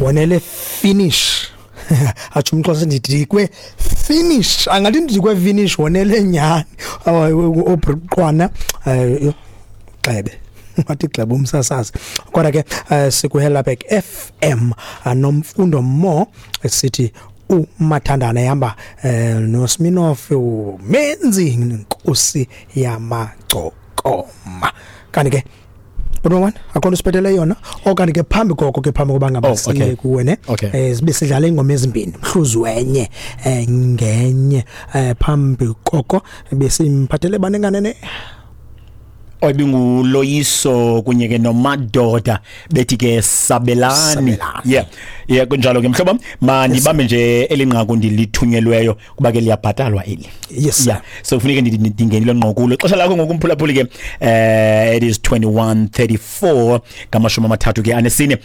Wonele finish. Atsho umXhosa, ndidikwe finish, angathi ndidikwe finish, wonele nyhani obruqwana gxebe, wathi gxebe umsasazi. Kodwa ke sikuHelabek FM noMfundo Mo, sithi uMathandana ehamba noSminoff umenzi inkosi yamagcokoma. Kanti ke Bhuti, akho nto siphathele yona, okanye ke phambi koko ke, phambi koba ngaba siye kuwe ne, sibe sidlala ingoma ezimbini, mhluzi wenye ngenye, phambi koko besimphathele banenganene. Oyibinguloyiso kunye ke noMadoda, bethi ke Sabelani. Sabelani. Yeah, kunjalo ke, mhlobo. Mandibambe nje elinqaku ndilithunyelweyo, kuba ke liyabhatalwa eli. Yes. Yeah, so kufuneka ndingenile ngqo kulo ixesha lakho ngoku, mphulaphuli ke. It is 21:34, 34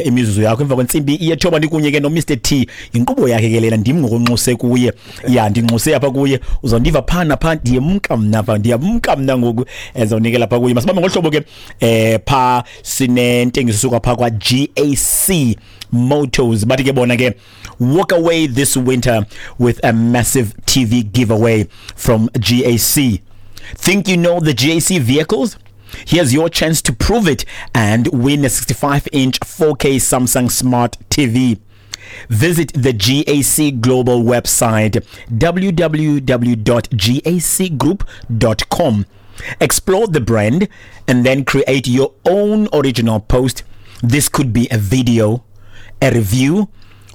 imizuzu yakho emva kwentsimbi yethoba. Ndikunye ke no Mr T, inkqubo yakhe ke lena, ndim ngokunxuse kuye. Ya, ndinxuse apha kuye, uzondiva phaa naphaa. Ndiyemka mna pha, ndiyamka mna ngoku, ezawunikela phaa kuye. Masibambe ngohlobo ke, phaa sinentengiso suka phaa kwa GAC Motors. Bathi ke bona ke, walk away this winter with a massive TV giveaway from GAC. Think you know the GAC vehicles? Here's your chance to prove it and win a 65-inch 4K Samsung Smart TV. Visit the GAC Global website, www.gacgroup.com. Explore the brand and then create your own original post. This could be a video, a review,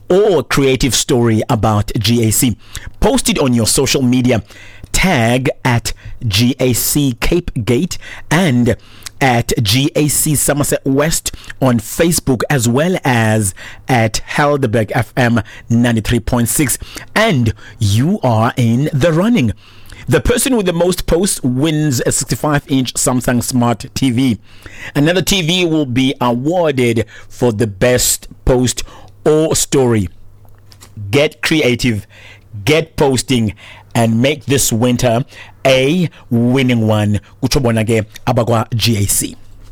or a creative story about GAC. Post it on your social media. Tag at GAC Cape Gate and at GAC Somerset West on Facebook, as well as at Helderberg FM 93.6, and you are in the running. The person with the most posts wins a 65-inch Samsung Smart TV. Another TV will be awarded for the best post or story. Get creative, get posting, and make this winter a winning one. Kutsho bona ke abakwa GAC.